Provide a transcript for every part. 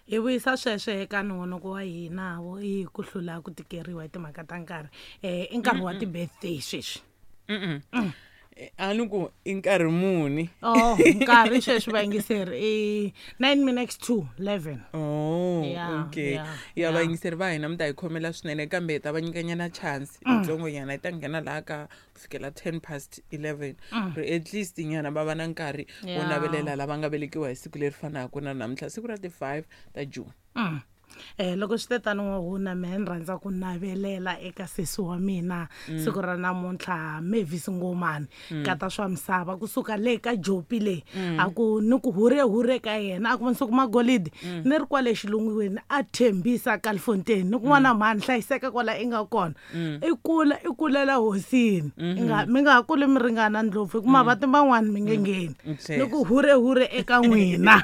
Hi vuyisa sweswo eka nongonoko wa hina wo i ku hlula ku tikeriwa hi timhaka ta nkarhi. I nkarhi wa ti-birthday sweswi. A ni ku i nkarhi muni? Oh, nkarhi sweswi vayingiseri i 9 minutes to 11. Oh, Yeah, okay. yeah, Ya yeah. vayingiseri va hina mi ta hi khomela swinene kambe hi ta va nyikanyana chance yitsongonyana yi ta nghena laha ka ku fikela 10 past 11 ri at least nyana va va na nkarhi wo navelela lava nga velekiwa hi siku leri fanaka na namuntlha, siku ra ti-5 ta June. Loko swi te tano n'wahuna, mehe ni rhandza ku navelela eka sesi wa mina siku ra namuntlha, Mavis Ngomani, kata swa misava kusuka le ka Jopi le. A ku ni ku hure hure ka yena, a ku masiku magolidi ni ri kwale xilungwini a Thembisa Kalfontein, ni ku n'wana mhani hlayiseka kwala i nga kona, i kula i kulela hosini, i nga mi nga ha kuli mi ringana ndlopfu, hikuva mavati man'wani mi nge ngheni. Ni ku hure hure eka n'wina.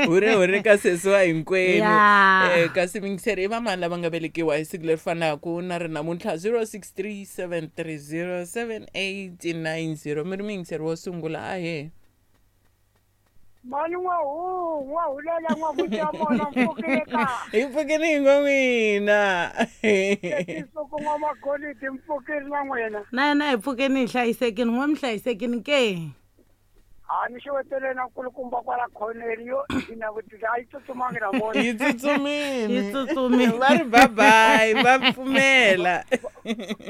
Hure hure ka sesi wa hinkwenu. Yeah. Kasi mingiseri, i vamani lava nga velekiwa hi siku leri fanaka na ri namuntlha? 0637307890. Mi ri muyingiseri wo sungula, ahe. Mani n'wahu n'wahulela n'wamuti mona, mpfukile ka? Hi pfukini hi ngo n'wina. Tisuku n'wamagolidi, mpfukile na n'wina? Na yena hi pfukeni hi hlayisekini, n'we mi hlayisekini ke? A ni xewetele na nkulukumba kwala khoneni yo ina vutisa, a yi tsutsumangi na vona? Yi tsutsumini. Yi tsutsumile. Va ri babayi, va pfumela.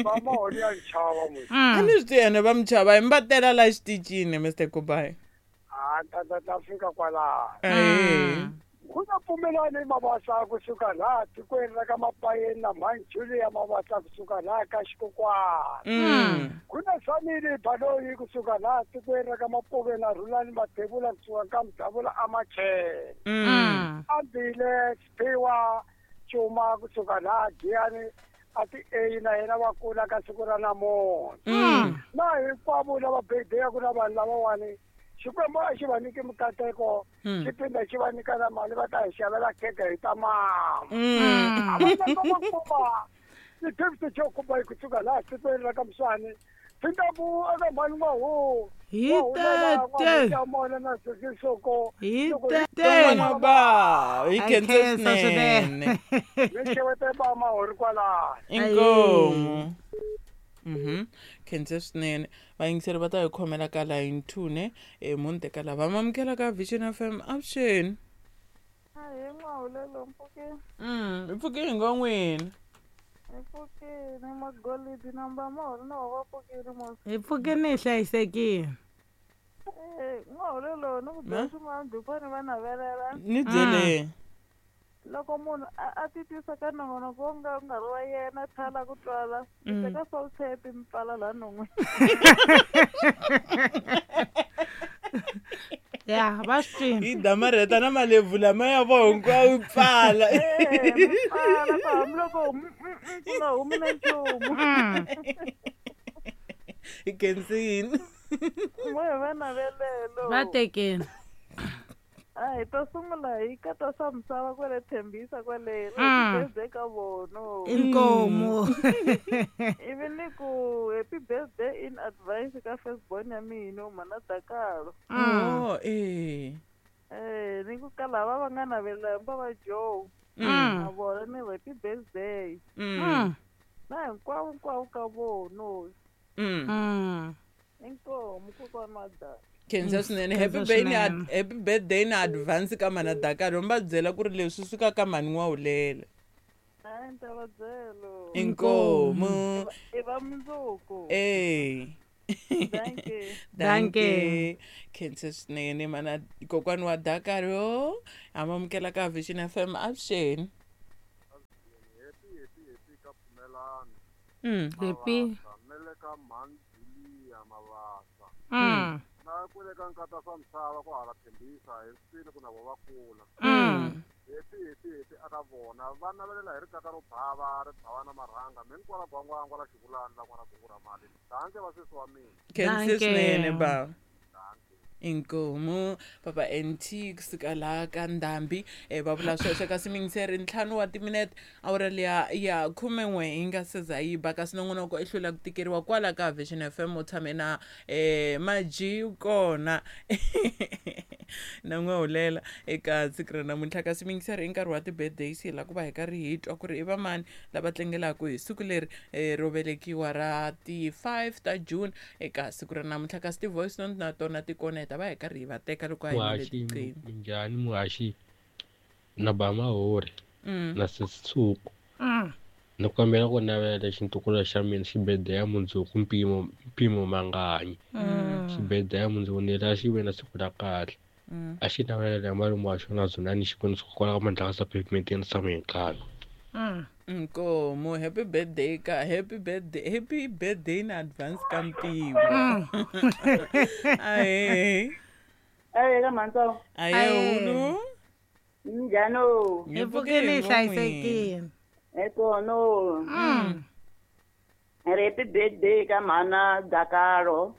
Va mahoni ya nchava mu. A ni swi tivi ene va mi chava hi mi va tela la xiticini, Mr Kubai. A ta ta ta fika kwalaho. Ahee. Ku na pfumelani Mabasa kusuka laha tikweni ra ka Mapayeni, na mhani Julia Mabasa kusuka laha ka Xikokwani. Ku na Sanile Baloyi kusuka laha tikweni ra ka Mapuve, na Rhulani Mathebula kusuka ka Mudavula Amachele. Ambile Siphiwa Cuma kusuka laha Giyani a ti eyi, na yena wa kula ka siku ra namuntlha. Na hinkwavo lava bedeyaku na vanhu lavawani, Xikwembu a xi va nyiki mikateko, xi phinda xi va nyika na mali, va ta hi xavela khekhe hi ta mama. A va lava va kuma ti-gift xo kuma hi kusuka laha tikweni ra ka Muswani, phindaku eka mhani n'wahu. Hi tete. Mona na sesisoko. Hi tete. Van'wana ba hi A khensa khensa swinene. swinene. Mi xewete ba mahori kwalaho. Inkomu. Khense swinene. Vayingiseri va ta hi khomela ka line 2 ne e munhu teka lava mamukela ka Vision FM. Avuxeni. Ahee n'wahulelo, mpfukeni? Hi pfuke hi ngo n'wina. Hi pfukini magolidi namba mahori na va pfukini mos. Hi pfukeni hi hlayisekile. N'wahulelo, ni ku byela Ma? swin'wana before ni va navelela. Ni byele. Loko munhu a titwisa ka nongonoko wo nga ri wa yena, thala ku twala, mi teka salt tape mi pfala laha non'wini. Ya va swi twini. Hi damarheta na malebvu lama ya vo hinkwawo yi pfala. Mi pfala ku hambiloko ku nga humi na nchumu. Hi khensini. Mo hi va navelelo. Va tekeni. A hi ta sungula hi kata swa misava kwale Thembisa kwale, happy birthday ka vono. Inkomu. Ivi ni ku happy birthday in advance ka firstborn ya mina, mhana Dakalo. Oh, eh. Ni ku ka lava va nga navelela hinkwavo va Joe, na vona ni happy birthday. Na hinkwavo hinkwavo ka vono. Inkomu kokwana wa Daka. Khensa swinene. Happy Khensa birthday na swinene. happy birthday na advance ka mana Dakalo. Mi va byela ku ri leswi suka ka mhani n'wahulela. Hayi, ni ta va byelo. Inkomu. I va mundzuku. Eh. Dankie. Dankie. Khensa swinene mana kokwani wa Dakalo. Amamukela ka Vision FM. Avuxeni. Happy happy happy ka Pfumelani. Happy. Na le ka mhani Julia Mabasa. Na kwele ka nkata swa misava ku hala Thembisa, hi swini ku na vo va kula. Happy happy happy aka vona, va navelela hi rikaka ro bava ri bava na marhanga mi ni kwala gwangwangwa la xivulani la n'wana gugu ra mali, danke va sesi wa mina. Khensa Dankie. swinene baba. Danke. Inkomu papa nt kusuka laha ka ndhambi va vula sweswo. Kasi mingiseri 5 wa timinete awara liya ya 11 yi nga se za yi ba. Kasi nongonoko i hlula ku tikeriwa kwala ka Vision FM, u tshame na Maji kona na n'wahulela eka siku ra namuntlha. Kasi mingiseri i nkarhi wa ti-birthdays, hi la ku va hi karhi hi twa ku ri i va mani lava tlangelaka hi siku leri ro velekiwa ra ti-5 ta June eka siku ra namuntlha. Kasi ti-voice note na tona ti kona, hi ta va hi karhi hi va teka loko a hi le tiqini. Minjhani muhaxi na ba mahori na sesitsuku. Ni kombela ku navela xintukulu xa mina xi birthday ya mundzuku mpimo manganyi. Xi birthday ya mundzuku ni la xi ve na siku ra kahle. A xi navelela ya malume wa xona Dzunani Xikwembu kwala ka Mandlakazi pavement ya Samuel. Nkomo, happy birthday ka happy birthday, happy birthday in advance ka Mpimo. Ahe. Ahe ka Mantso. Ahe ulu. Njhani? Hi pfukile hlayisekile. Ekono. Happy birthday ka mhana Dakaro.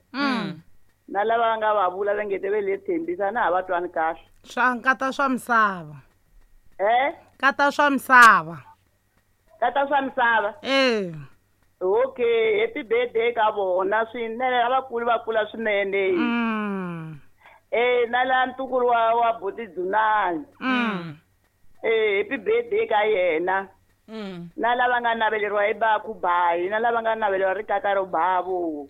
Na lava nga va vula va nge te ve le Thembisa na ha va twani kahle. Swa nkata swa misava. Kata swa misava. Kata swa misava. Okay, happy birthday ka vona swinene lavakulu va kula swinene. Na la ntukulu wa buti Dzunani. Happy birthday ka yena. Na lava nga naveleriwa hi baku bayi, na lava nga naveleriwa ri kaka ro bavo.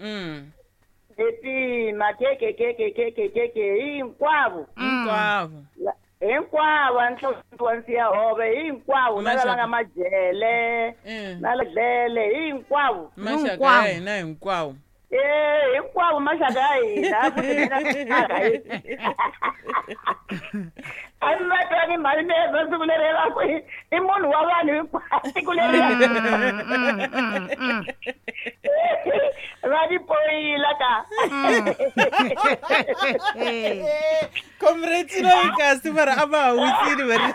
Happy makeke keke keke keke hinkwavo. Hinkwavo. Hinkwavo nhlonto wa nsiya hove hinkwavo na lava nga majele na ledlele hinkwavo. Maxaka ya hina hinkwavo. Hinkwavo maxaka ya hina. A mi va twani mhani mi siku leri va ku i munhu wa vanhu hinkwavo siku leri va ni poyila ka. Comrades loyi kasi mara a va ha wisini va ri.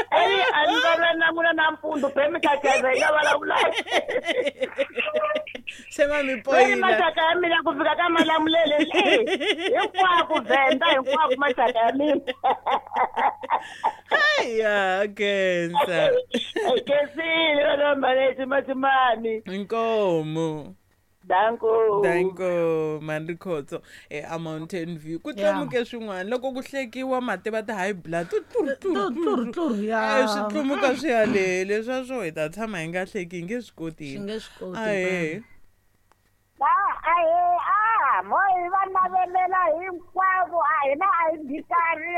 A ni va na n'wina nampundzu be mi khakheza hi nga vulavula. Se va mi poyila. Maxaka ya mina ku fika ka Malamulele hinkwako Venda hinkwako maxaka ya mina. Haya kensa. Kensile vana maleti matimani. Inkomo. Danko. Danko Mandrikhotso a Mountain View. Ku tlamuke swin'wana loko ku hlekiwa mati va ti high blood tlur ya. Swi tlumuka swi ya le leswa swo hi ta tshama hi nga hleki hi nge swi koti. Swi nge swi koti. Moi va navelela hinkwavo a hina a hi bikari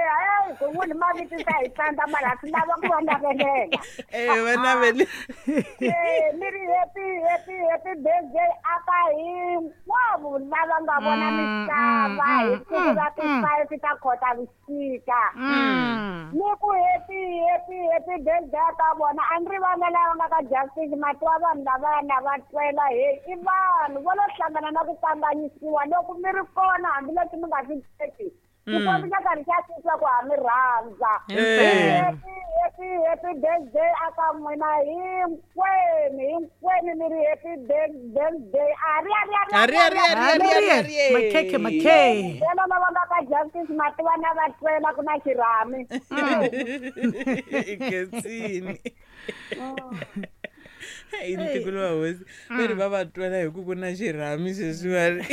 ku n'wini mavito ta hi tsandza mara swi lava ku va navelela. Va navele. Mi ri happy happy happy birthday aka hinkwavo lava nga vona misava hi siku ra ti-5 ta Khotavuxika. Ni ku happy happy happy birthday ka vona a ni ri vana lava nga ka Justice matwa vanhu lavaya va twela he i vanhu vo lo hlangana na ku kanganyisiwa loko mi ri kona hambileswi mi nga swi teki xikwembu xa karhi xa swi twa ku ha mi rhandza. Happy happy happy birthday aka n'wina hinkwenu hinkwenu mi ri happy birthday. Ari makhekhe makhekhe vona lava nga ka Justice mativa na va twela ku na xirhami. Kensini. I ntikulu wa hosi va ri va va twela hi ku ku na xirhami sweswiwani.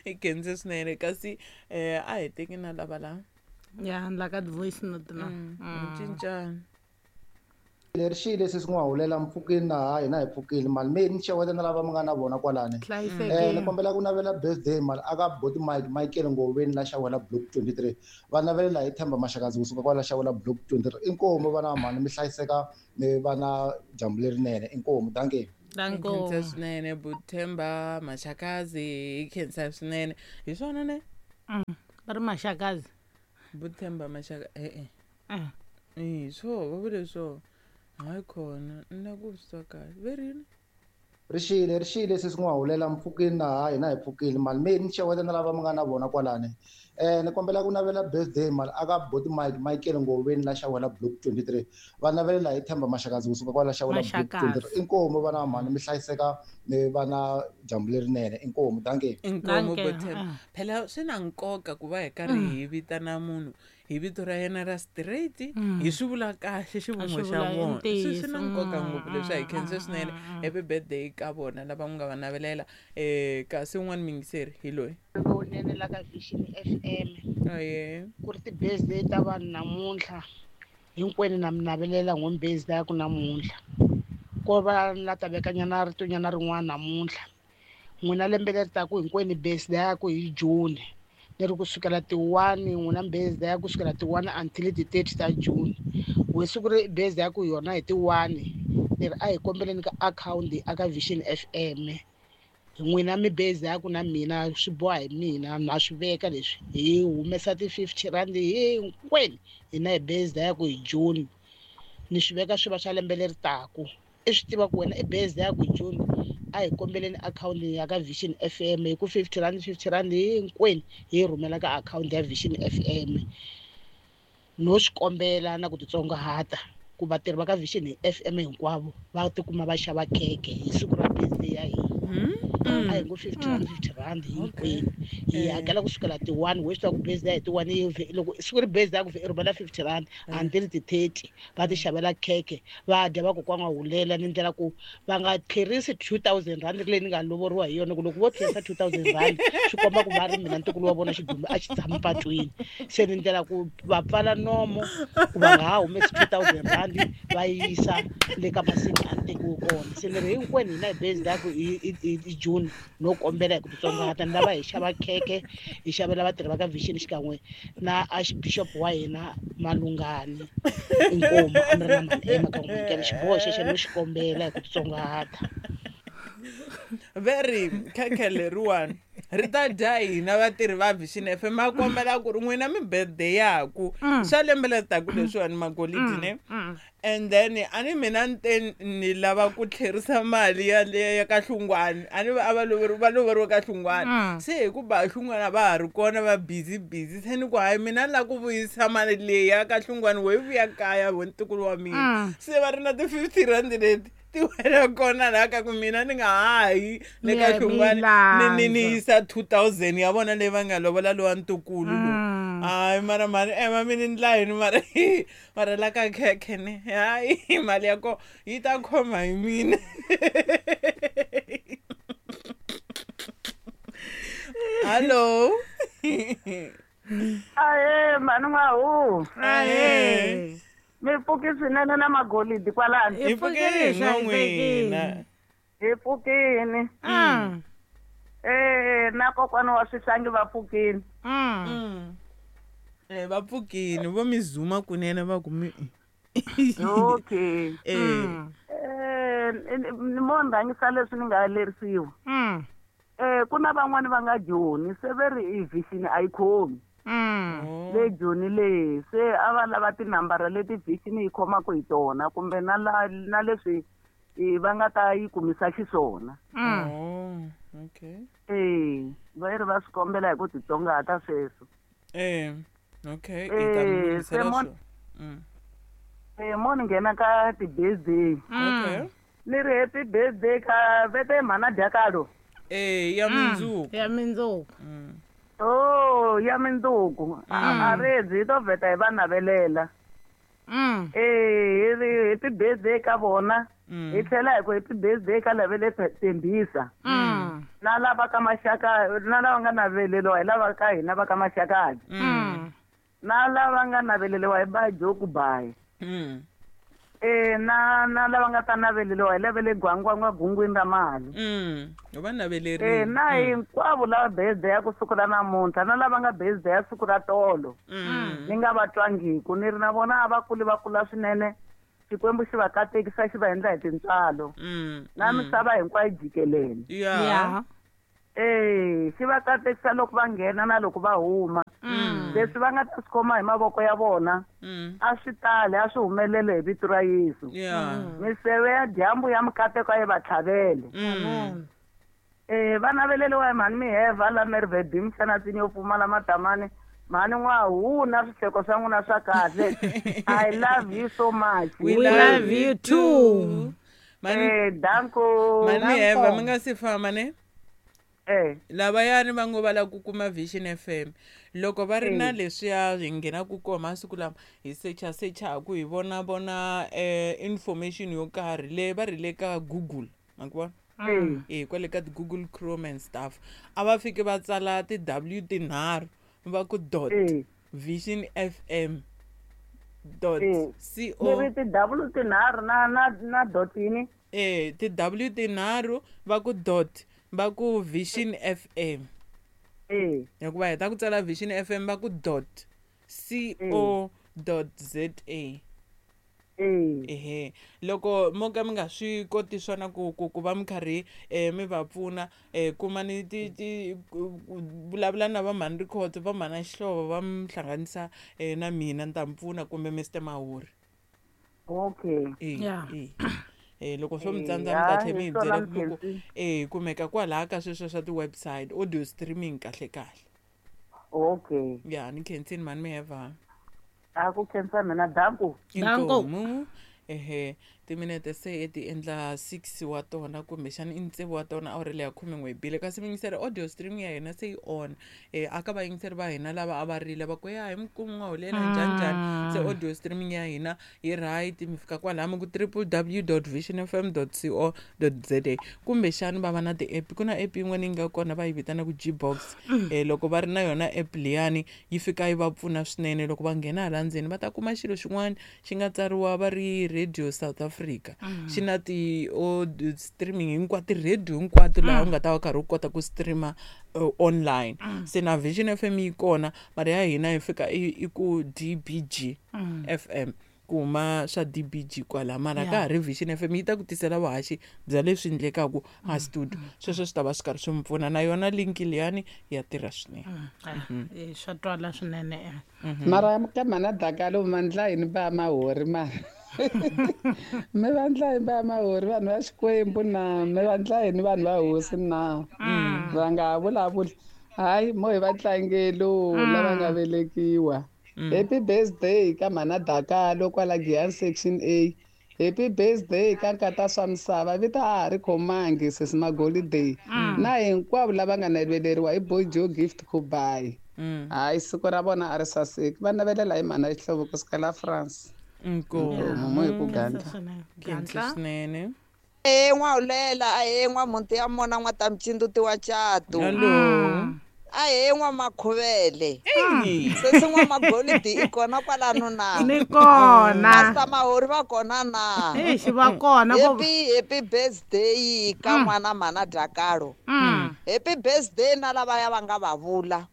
I khense swinene kasi a hi teki na lava la. Ya la ka voice note na. Cincana. Leri xile sesi n'wa hulela mpfukini na ha hina hi pfukile mali me ni xeweta na lava mi nga na vona kwalani. Ni kombela ku navela birthday mali aka boti Mike Michael Ngoveni la xawela block 23. Va navelela hi Themba Maxakazi kusuka kwala xawela block 23. Inkomu vana mhani mi hlayiseka mi va na dyambu lerinene. Inkomu danke. Danko. Khensa swinene Buthemba Maxakazi, khensa swinene. Hi swona ne? Va ri Maxakazi. Buthemba Maxaka swo va vule swo. Hayi khona na ku swi twa kahle ve rini. Ri xile sesi n'wa hulela mpfukini na ha hina hi pfukile mali me ni xeweta na lava mi nga na vona kwalani. Ni kombela ku navela birthday mali aka boti Mike Michael Ngoveni la Xawela Block 23. Va navelela hi Themba Maxakazi kusuka kwala Xawela Block 23. Inkomu vana mhani mi hlayiseka mi va na dyambu lerinene. Inkomu, dankie. Inkomu Bothemba. Phela swi na nkoka ku va hi karhi hi vitana munhu hi vito ra yena ra straight hi swi vula kahle xivongo xa vona. Swi na nkoka ngopfu leswi, a hi khense swinene. Happy birthday ka vona lava n'wi nga va navelela. Kasi un'wana muyingiseri hi loyi. Lowunene la ka Vision FM. Aye. Ku ri ti-birthday ta vanhu namuntlha hinkwenu na mi navelela n'we birthday ya ku namuntlha. Ko va la ta vekanyana ritonyana rin'wana namuntlha. N'wina lembe leri taka hinkwenu birthday ya ku hi June. Leri kusukela ti 1 n'wina birthday ya kusukela ti 1 until ti 30 ta June. We siku ri birthday ya ku yona hi ti 1 leri a hi kombeleni ka account aka Vision FM. N'wina mi birthday ya ku na mina swi boha hi mina na swi veka leswi hi humesa ti 50 rand hinkwenu hina hi birthday ya ku hi June. Ni swi veka swi va swa lembe leri taku. I swi tiva ku wena i birthday ya ku hi June. A hi kombeleni akhawunti ya ka Vision FM hi ku 50 rand 50 rand hinkwenu hi rhumela ka akhawunti ya Vision FM. No swi kombela na ku titsongahata ku vatirhi va ka Vision FM hinkwavo va tikuma va xava khekhe hi siku ra birthday ya hina. A hi ngo 50 rand 50 rand hinkwenu hi hakela kusukela ti 1 we swi tiva ku birthday hi ti 1 loko siku ri birthday ya ku i rhumela 50 rand until ti 30 va ti xavela khekhe va dya va kokwana hulela ni ndlela ku va nga tlherisi 2000 rand leyi ni nga lovoriwa hi yona ku loko vo tlherisa 2000 rand swi komba ku va ri mina ntukulu wa vona xidumbu a xi tshama patwini. Se ni ndlela ku va pfala nomo ku va nga ha humesi 2000 rand va yisa le ka masiku a tekiwe kona. Se ni ri hinkwenu hina hi birthday ya ku hi June no kombela hi ku titsongahata ni lava hi xava khekhe hi xavela vatirhi va ka Vision xikan'we na Archbishop wa hina Malungani. Inkomu a mi ri na mali ema ka n'wi xiboho xexo no xi kombela hi ku titsongahata. Very khekhe leriwani ri ta dya hina vatirhi va Vision FM a kombela ku ri n'wina mi birthday yaku swa lembe leri taku leswiwani magolidi ne. And then ani mina ni ni lava ku tlherisa mali ya le ya ka Hlungwani ani a va loveriwe ka Hlungwani. Se hi ku ba Hlungwani va ha ri kona va busy busy se ni ku hayi mina ni lava ku vuyisa mali leyi ya ka Hlungwani wo yi vuya kaya vo ntukulu wa mina. Se va ri na ti 50 rand leti ti wela kona laha ka ku mina ni nga hayi le ka Hlungwani ni ni yisa 2000 ya vona leyi va nga lovola lowa ntukulu lowu. Hayi mara mali ema mi ni ndla yini mara mara la ka khekhe ne hayi mali ya ko yi ta khoma hi mina. Hello. Ahe mhani n'wahu. Ahe. Mi pfuki swinene na magolidi kwalano. Hi pfukile n'wina. Hi pfukini. Na kokwana wa swihlangi va pfukini. Va pfukini vo mi zuma kunene va ku mi. Okay. Ni mo ndhangisa leswi ni nga lerisiwa. Ku na van'wani va nga Joni se ve ri i Vision a yi khomi. Le Joni le se a va lava tinambara leti Vision yi khomaka hi tona kumbe na na leswi va nga ta yi kumisa xiswona. Okay. Va ri va swi kombela hi ku titsongahata sweswo. Okay, i ta mi lunghisela swona. Mo ni nghena ka ti-birthday. Okay. Ni ri happy birthday ka vete mhana Dyakalo. Ya mindzuku. Ya mindzuku. Oh, ya mindzuku. A redzi hi to vheta hi va navelela. Hi ri happy birthday ka vona. Hi tlhela hi ku happy birthday ka lavele Tembisa. Na lava ka maxaka na lava nga naveleriwa hi lava ka hina va ka Maxakadzi. Na lava nga naveleriwa hi ba Joku Bayi. Na na lava nga ta naveleriwa hi lavele Gwangwangwa gungwini ra mali. Va navelerile. Na hinkwavo lava birthday ya ku siku ra namuntlha na lava nga birthday ya siku ra tolo. Ni nga va twangiku ni ri na vona a va kuli va kula swinene. Xikwembu xi va katekisa xi va endla hi tintswalo. Na misava hinkwayo jikelele. Xi va katekisa loko va nghena na loko va huma. Leswi va nga ta swi khoma hi mavoko ya vona a swi tali a swi humelele hi vito ra Yesu. Miseve ya dyambu ya mikateko yi va tlhavele. Va naveleliwa hi mhani Miheva la Mervedim xana yo pfumala matamani. Mhani n'wahuna swihleko swa n'wina swa kahle. I love you so much. We love you too. Danko. Mhani Miheva mi nga si famba ne? Lavayani va ngo va lava ku kuma Vision FM. Loko va ri na leswiya hi nghenaku kona masiku lama hi sechasechaku hi vona vona information yo karhi leyi va ri le ka Google ma ku vona? Kwale ka ti-Google Chrome and stuff. A va fiki va tsala ti-W tinharhu va ku dot Vision FM dot co. Ni ti-W tinharhu na dot yini? Ti-W tinharhu va ku dot va ku Vision FM. Hikuva heta ku tsala Vision FM va ku dot co dot za. Ehe, loko mo ka mi nga swi koti swona ku va mi karhi mi va pfuna kumani ti vulavula na va mhani Rikhotso va mhana Xihlovo va mi hlanganisa na mina ni ta mi pfuna kumbe Mr Mahuri. Okay. Loko swo mi tsandza mi ta tlhe mi hi byela ku kumeka kwalaha ka sweswo swa ti-website audio streaming kahle kahle. Okay. Ya ni khensini mhani Miheva. A ku khensa mina danku. Inkomu. Ehe, timinete se ti endla 6 wa tona kumbexana i tsevu wa tona awara leya 11 bile kasi miyingiseri audio streaming ya hina se yi on. Aka vayingiseri va hina lava a va rile va ku ya hi mikumu n'wahulela njhani njhani se audio streaming ya hina yi right mi fika kwalaha mi ku www.visionfm.co.za kumbexana va va na ti-app ku na app yin'wana yi nga kona va yi vitanaka Gbox. Loko va ri na yona app liyani yi fika yi va pfuna swinene loko va nghena hala ndzeni va ta kuma xilo xin'wana xi nga tsariwa va ri Radio South Africa. Xi na ti streaming hinkwato ti-radio hinkwato laha u nga ta va karhi u kota ku streama online. Se na Vision FM yi kona mara ya hina yi fika i ku DBG FM ku huma swa DBG kwala mara ka ha ri Vision FM yi ta ku tisela vuhaxi bya leswi endlekaku a studio. Sweswo swi ta va swi karhi swi mi pfuna na yona link liyani ya tirha swinene. Swa twala swinene. Mara ka mhana Dakalo mandla yini va Mahuri mara. Mi vandla yini va Mahuri vanhu va Xikwembu na mi vandla yini vanhu va hosi na va nga vulavuli hayi mo hi va tlangelo lava nga velekiwa. Happy birthday ka mhana Dakalo kwala Giyani section A. Happy birthday ka nkata swa misava vita a ha ri khomangi sesi Magolidey na hinkwavo lava nga naveleriwa hi Boy Joe Gift Kubai. Hayi siku ra vona a ri saseki va navelela hi mhana Xihlovo kusuka la France. Inkomu hi ku gandla. Swinene. N'wahulela n'wamuti ya mona n'watamcinduti wa cato. Hello. Ahe n'wamakhuvele. Sesi n'wamagolidi i kona kwalano na? Ni kona. Master Mahuri va kona na? Exi va kona. Happy birthday ka n'wana mhana Dakalo. Happy birthday na lavaya va nga va vula.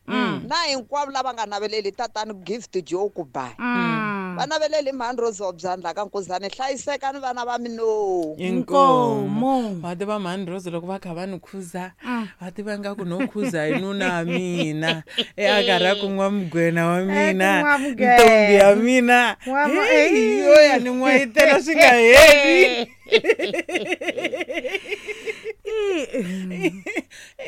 Na hinkwavo lava nga naveleli tatani Gift Joe Kubai. Va naveleli mhani Rose wa Byandla ka Nkuzani hlayisekani vana va mino. Inkomu. Va tiva mhani Rose loko va kha va ni khuza va tiva nga ku no khuza hi nuna mina a karhi a ku n'wamugwena wa mina ntombi ya mina yo ya ni n'wayitela swi nga heli.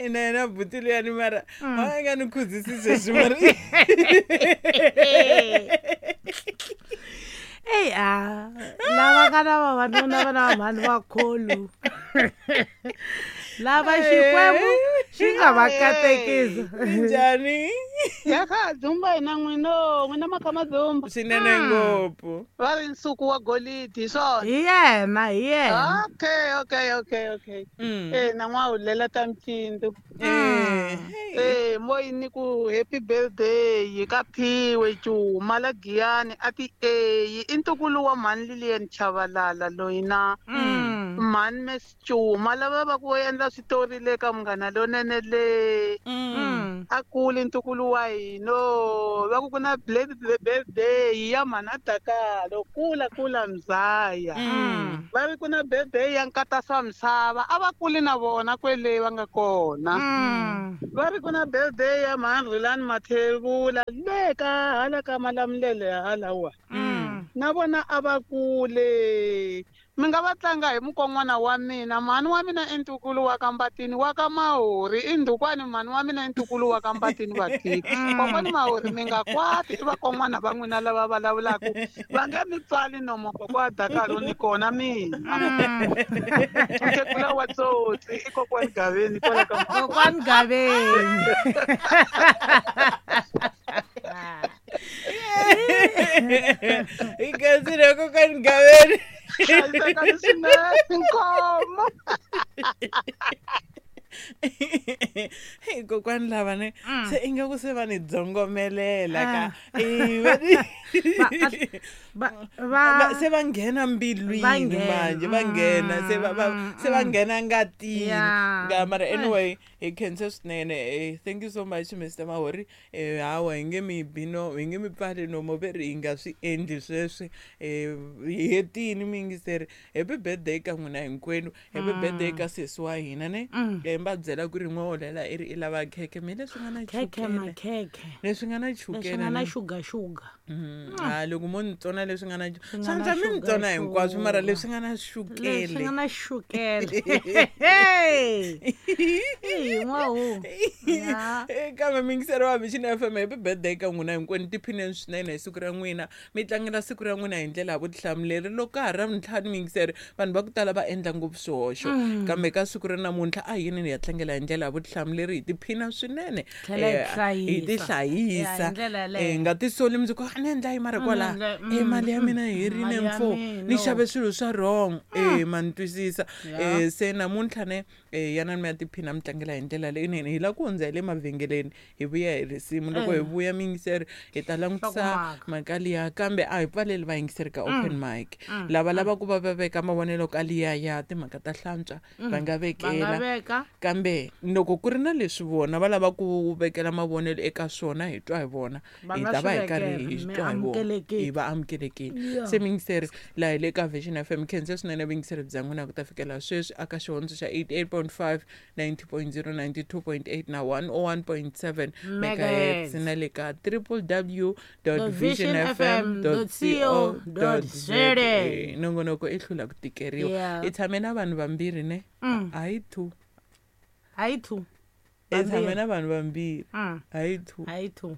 Ina yena buti luyani mara a nga ni khuzisi sweswi mara. Eyi lava nga na vavanuna va na vamhani vakholu lava Xikwembu xi nga va katekisa. Njhani? Ya kha dzumba hina n'wino n'wina makha madzumba swinene ngopfu. Va ri nsuku wa golidi hi swona. Hi yena hi yena. Okay. Na n'wahulela ta mcindu. Mo yi ni ku happy birthday ka Phiwe Cuma la Giyani a ti i ntukulu wa mhani Lilian Chavalala loyi na mhani Miss Cuma lava va ku endla switori le ka Munghana Lonene le. A kuli ntukulu wa hina va ku ku na birthday ya mhana Dakalo kula kula mzaya. Va ri ku na birthday ya nkata swa misava a va kuli na vona kwele va nga kona. Va ri ku na birthday ya mhani Rhulani Mathebula le ka hala ka Malamulele halawa. Na vona a va kule. Mi nga va tlanga hi mukon'wana wa mina, mhani wa mina i ntukulu wa ka Mbatini wa ka Mahori, i ndhukwani mhani wa mina i ntukulu wa ka Mbatini vatiki. Kokwani Mahori mi nga kwati, i vakon'wana va n'wina lava vulavulaka, va nge mi tswali nomo kokwa Dakalo ni kona mina. Mukhegula wa tsotsi i kokwani Gaveni kwala ka Kokwani Gaveni. Hi khensile kokwani Gaveni. Hlayisekani swinene inkomo. Hey, kokwani lava ne se ingaku se va ni dzongomelela ka se va nghena mbilwini manje, va nghena se va se va nghena ngatini. Nga mara anyway hi khense swinene. Thank you so much Mr Mahori. Hawa hi nge mi bino, hi nge mi pfali nomo ve ri hi nga swi endli sweswi. Hi hetini miyingiseri. Happy birthday ka n'wina hinkwenu. Happy birthday ka sesi wa hina ne. Va byela ku ri n'we holela i ri i lava khekhe, me leswi nga na chukele. Leswi nga na chukele. Leswi nga na sugar sugar. Ha loko mo ni tsona leswi nga na swa mi ni tsona hinkwaswo mara leswi nga na chukele. Leswi nga na chukele. Kambe miyingiseri wa Vision FM, happy birthday ka n'wina hinkwenu. Tiphineni swinene hi siku ra n'wina. Mi tlangela siku ra n'wina hi ndlela ya vutihlamuleri. Loko ka ha ri Ravuntlhanu miyingiseri, vanhu va ku tala va endla ngopfu swihoxo. Kambe ka siku ra namuntlha a yini hi ya tlangela hi ndlela ya vutihlamuleri, hi tiphina swinene. Hi tihlayisa. Hi nga tisoli mundzuku, a ni endla yi mara kwala. Mali ya mina yi herile mfo. Ni xave swilo swa wrong. Ma ni twisisa. Se namuntlha ne yanani mi ya tiphina mi tlangela hi ndlela leyinene. Hi lava ku hundza hi le mavhengeleni hi vuya hi risimu. Loko hi vuya miyingiseri hi ta langutisa mhaka liya, kambe a hi pfaleli vayingiseri ka open mic. Lava lavaku va va veka mavonelo ka liya ya timhaka ta hlantswa va nga vekela, kambe loko ku ri na leswi vona va lava ku vekela mavonelo eka swona hi twa hi vona, hi ta va hi karhi hi twa hi vona, hi va amukelekile. Se miyingiseri laha hi le ka Vision FM, khense swinene vuyingiseri bya n'wina ku ta fikela sweswi aka xihondzo xa 88.5, 90.0, 92.8 na 101.7 megahertz na le ka www.visionfm.co.za. Nongonoko i hlula ku tikeriwa. I tshame na vanhu vambirhi ne? Hayi two. Hayi two. I tshame na vanhu vambirhi. Hayi two. Hayi two.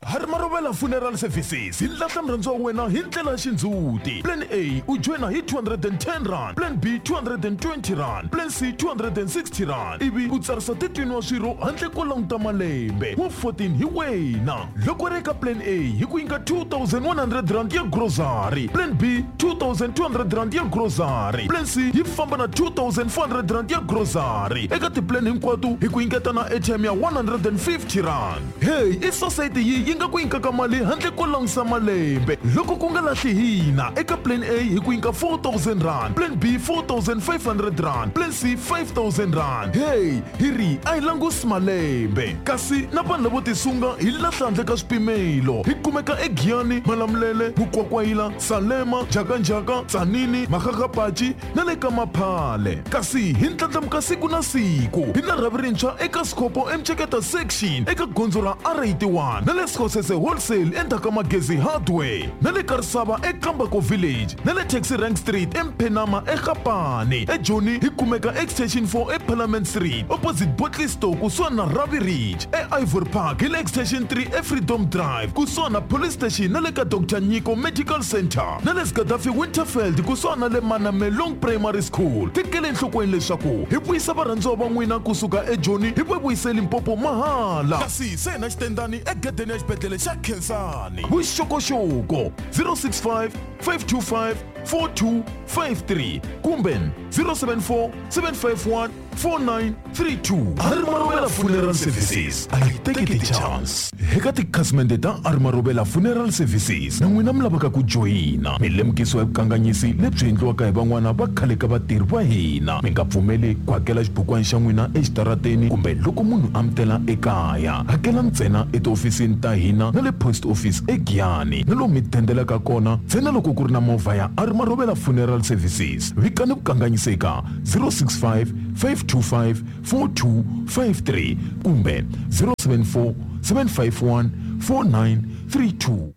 Hari Marovela Funeral Services hi lahla murhandziwa wa wena hi ndlela ya xindzhuti. Plan A u joyina hi 210 rand, Plan B 220 rand, Plan C 260 rand, ivi u tsarisa 13 wa swirho handle ko languta malembe. Wa 14 hi wena. Loko ri eka Plan A hi ku nyika 2100 rand ya grocery, Plan B 2200 rand ya grocery, Plan C yi famba na 2400 rand ya grocery. Eka tiplan hinkwato hi ku nyiketa na airtime ya 150 rand. Hey, i society yi nga ku nyikaka mali handle ko langusa malembe. Loko ku nga lahli hina, eka Plan A hi ku nyika 4000 rand, Plan B 4500 rand, Plan C 5000 rand. Hey, hi ri a hi langusi malembe. Kasi na vanhu lavo tisunga hi lahla handle ka swipimelo. Hi kumeka eGiyani, Malamulele, Mukwakwayila, Salema, Njhakanjhaka, Tzaneen, Makgakgapachi na le ka Maphale. Kasi hi ndlandlamuka siku na siku. Hi na rhavi rintshwa eka Sikhopo eMceketa section eka gondzo ra R81 na le Sekgosese Wholesale endzhaku ka Magezi Hardware na le Karisava eKambako Village na le Taxi Rank Street eMphenama eGapane. EJoni hi kumeka Extension 4 eParliament Street opposite Botley Store kusuhani na Ravi Ridge. E-Ivory Park hi le Extension 3 eFreedom Drive kusuhani na Police Station na le ka Dr Nyiko Medical Center na le Gaddafi Winterfeld kusuhani na le Manamelong Primary School. Tekele enhlokweni leswaku hi vuyisa varhandziwa va n'wina kusuka eJoni hi va vuyise Limpopo mahala. Kasi se na xitendani egedeni ya xibedhlele xa Khensani. Vuxokoxoko 065 525 4253 kumbe 074 751 4932. Hari Marovela Funeral Services a yi teki ti-chance. Eka tikhasimende ta Hari Marovela Funeral Services na n'wina mi lavaka ku joyina, mi lemukisiwa hi vukanganyisi lebyi endliwaka hi van'wana va khale ka vatirhi va hina. Mi nga pfumeli ku hakela xibukwana xa n'wina exitarateni kumbe loko munhu a mi tela ekaya. Hakela ntsena etihofisini ta hina na le post office eGiyani na lomu mi dendelaka kona ntsena loko ku ri na movha ya Hari Marovela Funeral Services. Vikani vukanganyisi eka 065 525 4253 kumbe 074 751 4932.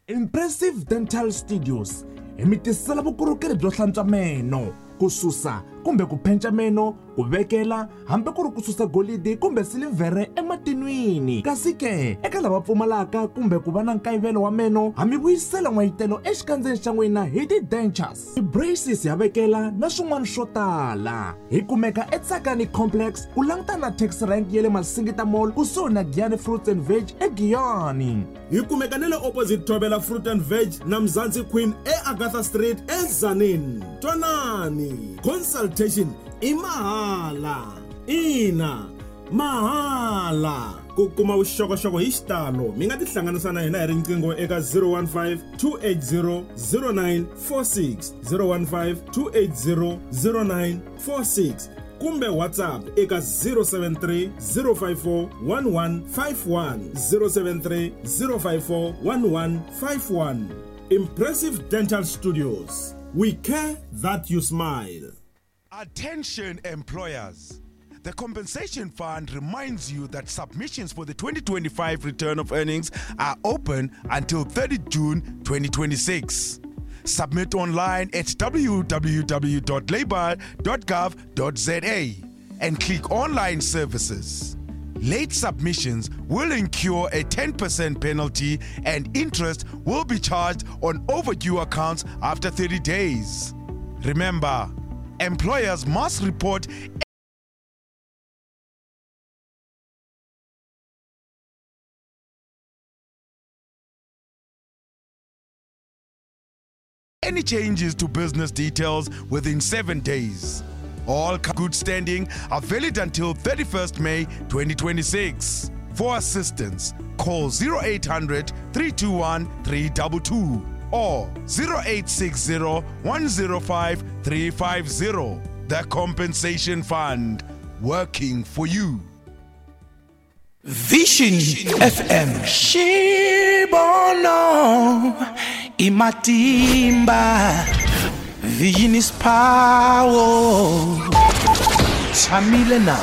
Impressive Dental Studios hi mi tisela vukorhokeri byo hlantswa meno ku susa kumbe ku phenca meno ku vekela hambi ku ri ku susa golidi kumbe silivhere ematinwini kasi ke eka lava pfumalaka kumbe ku va na nkayivelo wa meno ha mi vuyisela n'wayitelo exikandzeni xa n'wina hi ti-dentures ti-braces ya vekela na swin'wana swo tala hi kumeka etsakani complex ku langutana na taxi rank ya le masingita mall kusuhi na giyani fruits and veg egiyani Hi kumeka na le opposite Thobela Fruit and Veg na Mzansi Queen eAgatha Street eTzaneen. Twanani, consultation i mahala. Ina, mahala. Ku kuma vuxokoxoko hi xitalo mi nga tihlanganisa na hina hi riqingho eka 015 280 0946, 015 280 0946 kumbe WhatsApp eka 073 054 1151, 073 054 1151. Impressive Dental Studios, we care that you smile. Attention employers. The Compensation Fund reminds you that submissions for the 2025 return of earnings are open until 30 June 2026. Submit online at www.labour.gov.za and click Online Services. Late submissions will incur a 10% penalty and interest will be charged on overdue accounts after 30 days. Remember, employers must report any changes to business details within 7 days. All good standing are valid until 31st May 2026. For assistance, call 0800 321 322 or 0860 105 350. The Compensation Fund, working for you. Vision FM Xibono i matimba Vision is power Tshamile na.